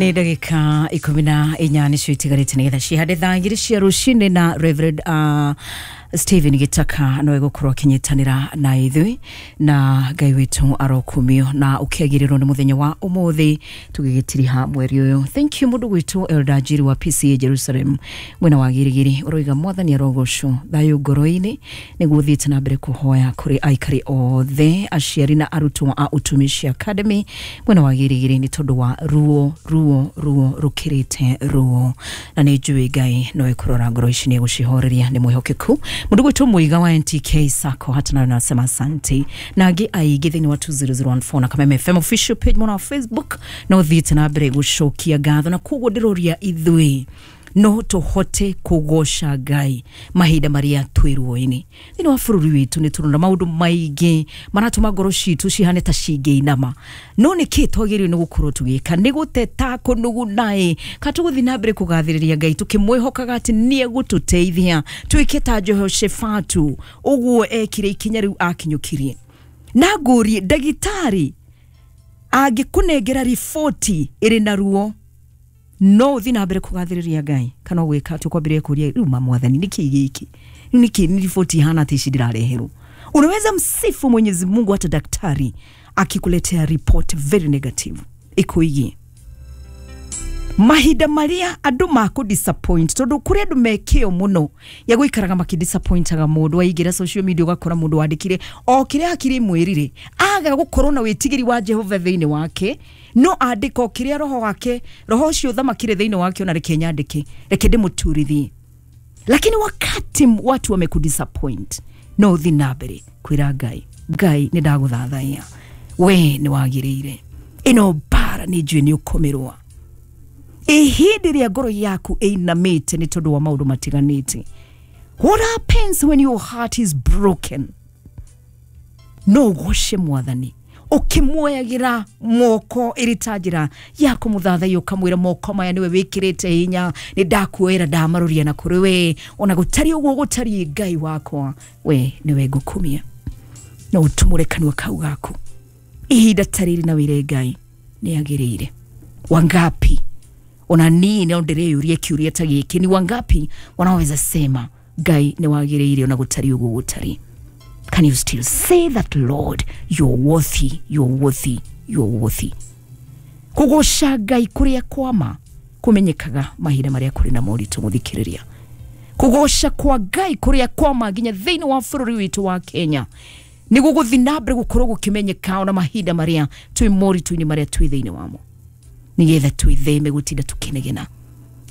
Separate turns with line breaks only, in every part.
Nĩ ndagĩka 14 nĩcio itigarĩte nĩgetha cihande thaa 2 cia rũcinĩ na Reverend Stephen Gitaka no egũkorwo akĩnyitanĩra na ithuĩ, na Ngai witũ arokumio na ũkĩagĩrĩrwo nĩ mũthenya wa ũmũthĩ tũgĩgĩtiriha mweri ũyũ. Thank you mũndũ gwitũ Elder Njiri wa PCA Jerusalem mwena wa Girigiri, ũroiga mwathani arogocwo thayũ ngoro-inĩ nĩguo ũthiĩte na mbere kũhoya kũrĩ aikari othe aciari na arutwo a Utumishi Academy mwena wa Girigiri nĩ tondũ wa ruo ruo ruo rũkĩrĩte ruo, na nĩ njũĩ Ngai no ekũrora ngoro ici nĩ egũcihoreria, nĩ mwĩhokeku. Mũndũ gwitũ Muiga wa NTK Sacco hata nayo nasema asante, na angĩ aingĩ thĩinĩ wa 2014 na Kameme FM official page mwena wa Facebook no thiĩte na mbere gũcokia ngatho, na koguo ndĩroria ithuĩ no tũhote kũgoca Ngai mahinda marĩa twĩ ruo-inĩ. Thĩinĩ wa bũrũri witũ nĩ tũrona maũndũ maingĩ maratũma ngoro citũ cihane ta cingĩinama, no nĩ kĩ twagĩrĩirwo nĩ gũkorwo tũgĩka? Nĩ gũteta kũnuguna-ĩ, kana tũgũthiĩ na mbere kũgathĩrĩria Ngai tũkĩmwĩhokaga atĩ nĩ egũtũteithia twĩke ta Jehoshafatu ũguo ekire ikinya rĩu akinyũkirie. Na ngũrie, ndagĩtarĩ angĩkũnengera riboti ĩrĩ na ruo no ũthiĩ na mbere kũgathĩrĩria Ngai kana ũgwĩka atĩ ũkwambĩrĩria kũria rĩu ma mwathani nĩkĩ gĩkĩ, nĩkĩ nĩ riboti ihana atĩ ici ndĩrareherwo? Unaweza msifu Mwenyezi Mungu hata daktari akikuletea report very negative ikuigie mahinda maria andu makũ disappoint, tondu kuri andu mekio muno ya guikaraga makidisappointaga mundu. Waingira social media ugakora mundu wandikire o kiria hakiri mwirire aga gukorwo na witigiri wa Jehova thiini wake, no andika o kiria roho wake, roho ucio thamakire thiini wake, ona reke nyandike, reke ndimuturithie. Lakini wakati watu wamekudisappoint, no uthi na mbere kwira Ngai, Ngai ni ndaguthathaiya, we ni wagiriire, ino mbara ni njui ni ukomirwa. Ihindi rĩa ngoro yaku ĩinamĩte nĩ tondũ wa maũndũ matiganĩte. What happens when your heart is broken? No ũgoce mwathani ũkĩmuoyagĩra moko ĩrĩ ta njĩra ya kũmũthathaiya, ũkamwĩra moko maya nĩwe wĩkĩrĩte hinya, nĩ ndakuoera ndamaroria na kũrĩ we, ona gũtariĩ ũguo gũtariĩ, Ngai wakwa we nĩwe ngũkumia. No ũtumũre kanua kau gaku ihinda ta rĩrĩ na wĩre Ngai nĩ agĩrĩire. Wangapi ona nii no ndĩreyũria kĩũria ta gĩkĩ, ni wangapi wanaweza sema Ngai nĩ wagĩrĩire ona gũtariĩ ũguo gũtariĩ? Can you still say that, Lord, you're worthy, you're worthy, you're worthy? Kũgoca Ngai kũrĩa kwama kũmenyekaga mahinda marĩa kũrĩ na moritũ mũthikĩrĩria. Kũgoca kwa Ngai kũrĩa kwama nginya thĩinĩ wa bũrũri witũ wa Kenya nĩ gũgũthiĩ na mbere gũkorwo gũkĩmenyeka ona mahinda marĩa twĩ moritũ-inĩ marĩa twĩ thĩinĩ wamo, nĩgetha twĩtheme gũtinda tũkĩnegena,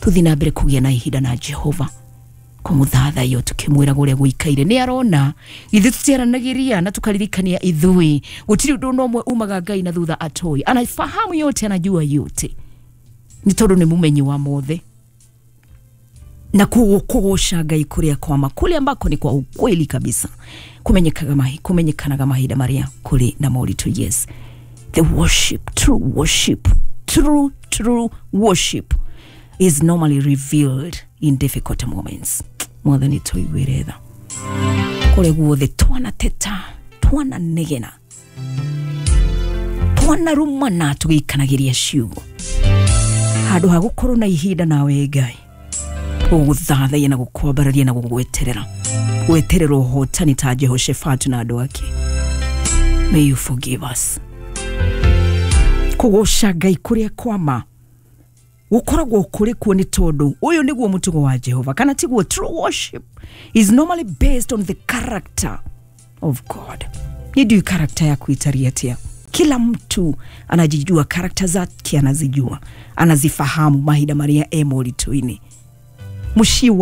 tũthiĩ na mbere kũgĩa na ihinda na Jehova kũmũthathaiya tũkĩmwĩra ũrĩa gũikaire. Nĩ arona ithuĩ tũtiaranagĩria na tũkaririkania ithuĩ gũtirĩ ũndũ ona ũmwe umaga Ngai na thutha atoi, anafahamu yote, anajua yote, nĩ tondũ nĩ mũmenyi wa mothe. Na kũgoca Ngai kũrĩa kwama, kũrĩa ambako ni kwa ukweli kabisa, kumenyekanaga mahinda marĩa kũrĩ na moritũ. Yes, the worship, true worship, true true worship is normally revealed in difficult moments. Mwathani tũiguĩre tha kũrĩa guothe twanateta, twananegena, twanarumana tũgĩikanagĩria ciugo, handũ ha gũkorwo na ihinda nawe Ngai gũgũthathaiya na gũkwambararia na gũgweterera, gweterera ũhotani ta Jehoshafatu na andũ ake. May you forgive us. Kũgoca Ngai kũrĩa kwama gũkoragwo kũrĩ kuo nĩ tondũ ũyũ nĩguo mũtugo wa Jehova, kana tiguo? True worship is normally based on the character of God. Ni ndiũĩ character yaku ĩtariĩ atĩa. Kila mtu anajijua character zake, anazijua, anazifahamu mahinda marĩa e moritũ-inĩ. Mũciĩ wa